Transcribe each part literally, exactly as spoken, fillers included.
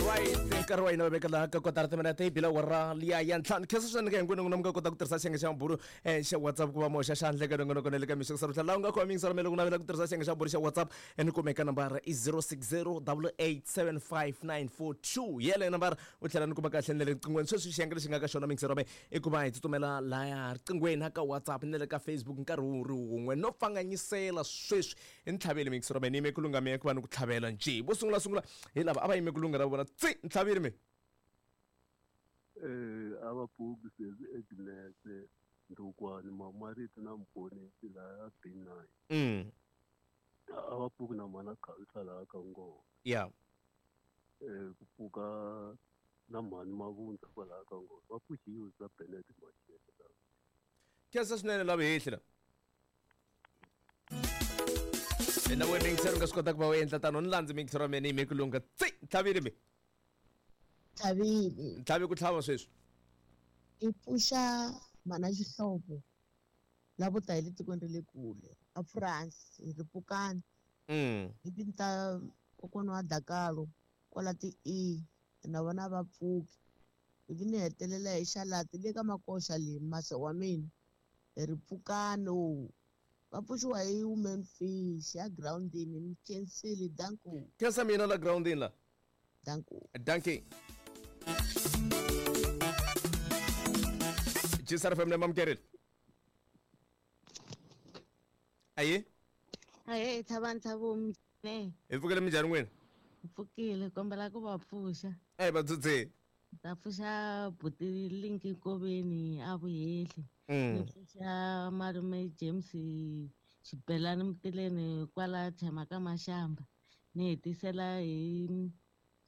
Alright, nkarhi wa hina va veka laha ka kotara timinete yi bila wara liya ya ntlhanu. Khensa swinene ka hinkwenu n'wina mi nga kota ku tirhisa xiyenge xa mabulu eh, xa WhatsApp ku va moxa xandla eka nongonoko na le ka mixo ku laha u nga khoma yingisela mele ku navela ku tirhisa xiyenge xa mabulu xa WhatsApp eh, ni kumeka nambara i zero six zero double eight seven five nine four two yeleyo nambara u tlhela ni kuma kahle ni le riqinghweni. Sweswi xiyenge lexi nga ka xona mingiselo me i ku va hi tsutsumela laya riqinghweni na ka WhatsApp na le ka Facebook nkarhi wu ri wun'we no pfanganyisela sweswi i ntlhaveli mingiselo me ni yime ku lungha me ku va ni ku tlhavela njhe. Vo sungula sungula hi lava a va yime ku lungha ra vona tsi ntlhaveli me. Eh, a va pfuki sesi Agnes Ndukwani Mamariti na Mponisi laha B nine. Mm. A va pfuki na mhana Khalisa laha ka Ngoma. Yeah. Eh, ku pfuka na mhani Mavundza kwalaha ka Ngoma. Va pfuxiwe bya Bennett Mashele. Khensa swinene lava hehli la. Na we mingiselo nga swi kota ku va u endla tano ni landzi mingiselo wa mina ni yime ku lungha tsi ntlhaveli me. Ntlhavile. Ntlhavi ku tlhava sweswi. I pfuxa mhana Xihlovo lavo ta hi le tikweni ra le kule a France hi ri pfukani. Mm. Hi tinta kokwana wa Dakalo kwala ti E na vona va pfuki. Ivi ni hetelela hi xalati le ka makoxa le mase wa mina hi ri pfukani. Va pfuxiwa hi women fish ya groundini ni khensile danko. Khensa mina la groundini la. Danko. Dankie. G S R F M na mamkerile. Aye. Aye, thabani thabo mne. Hi pfukile minjhani n'wina? Hi pfukile, kombela ku va pfuxa. Eh, va dzudze. Ta pfuxa buti Linki Nkoveni a vuheli. Ni pfuxa malume James Xibelani Mutileni kwala Thema ka Mashamba. Ni hetisela hi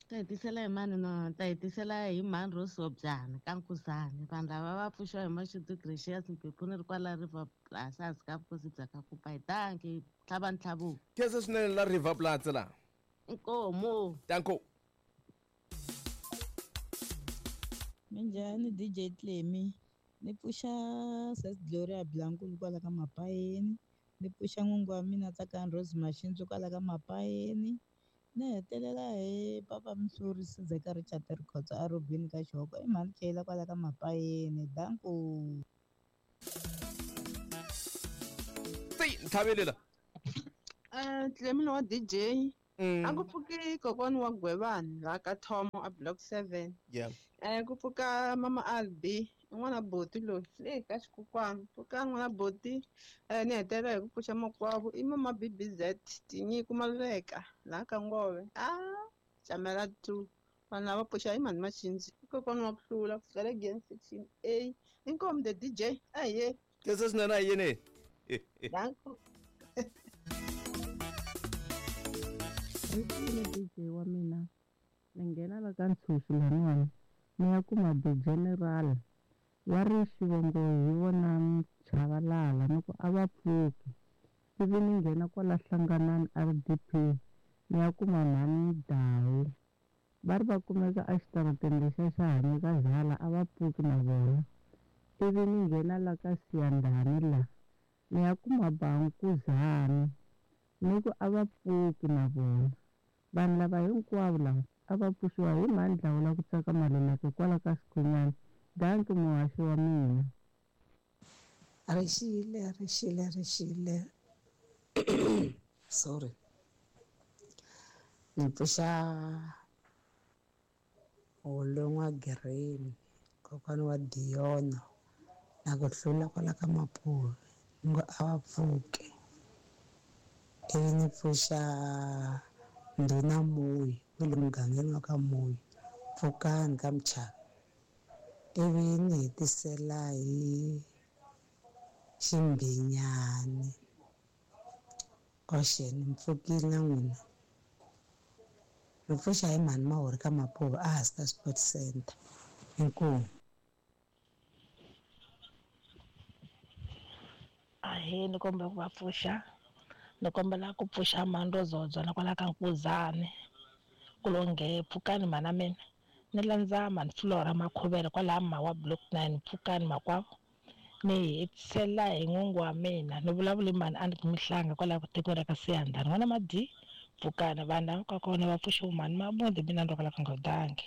ta hetisela hi mani no ta hetisela hi mhani ro Sobyana ka Nkuzani. Vanhu lava va pfuxiwa hi Mashudu Gracious Mphephu ri kwala River Plus hansi ka vukosi bya ka Kupa. Hi danki tlhava ntlhavu. Khensa swinene la River Plus la. Inkomo. Danko. Minjhani D J Clemmy. Ni pfuxa Sis Gloria Blankulu kwala ka Mapayeni. Ni pfuxa n'wingi wa mina Tsakani Rose Mashinzo kwala ka Mapayeni. Ni hetelela hi papa Mhluri Sizeka Richard Rikhotso a Robin ka Xihoko i mhani Kayla kwala ka Mapayeni. Danko. Tsi ntlhaveli la. Eh, Clemmy wa D J. A ku pfuki kokwana wa Gwevani laha ka Thomo a block seven. Yeah. Eh, ku pfuka mama Albi n'wana Boti loyi le ka xikukwana. Pfuka n'wana Boti eh ni hetelela hi ku pfuxa makwavo i mama B B Z Tinyiko Maluleka laha ka Ngove. Ah, Chamela two. Vanhu lava pfuxa hi mhani Machinzi. Kokwana wa ku hlula ku fikela again section A. Inkomu the D J. Aye. Khensa swinene a yini. Danko. Ri D J wa mina ni nghena la ka Ntshuxu laniwani ni ya kuma the general wa ri xivongo hi vona Mchavalala ni ku a va pfuki. Ivi ni nghena kwala Hlanganani R D P ni ya kuma mhani Dawu va ri va kumeka exitarateni lexiya xa Hanika Zala a va pfuki na vona. Ivi ni nghena la ka Siyandhani la ni ya kuma Bankuzani ni ku a va pfuki na vona. Vanhu lava hinkwavo lava a va pfuxiwa hi mhani Dlawula ku tsaka Maluleke kwala ka Xikhonyana. Danki muhaxi wa mina. Rixile, rixile, rixile. Sorry. Ni pfuxa Holon'wa Green, kokwana wa Diona na ku hlula kwala ka Mapuve ni ngo a va pfuki. Ivi ni pfuxa Ndhuna Moyi wa le mugangeni wa ka Moyi pfukani ka Mchaka. Ivi ni hetisela hi Ximbinyani. Oxeni mpfukile na n'wina. Ni pfuxa hi mhani Mahori ka Mapuve a hansi ka Sports Center. Inkomu. Ahee, ni kombela ku va pfuxa. Ni kombela ku pfuxa mhani Rozodzo na kwala ka Nkuzani. Ku lo nge pfukani mhana mina. Ni landza mhani Flora Makhuvele kwalaha Mawa block nine pfukani makwavo. Ni hetisela hi n'wingi wa mina ni vulavuli mhani a ni mihlanga kwalaha tikweni ra ka Siyandhani. N'wana Madi Pfukani vanhu lava ka kona va pfuxiwe mhani Mabunda mina ni rhwala ka nga dangi.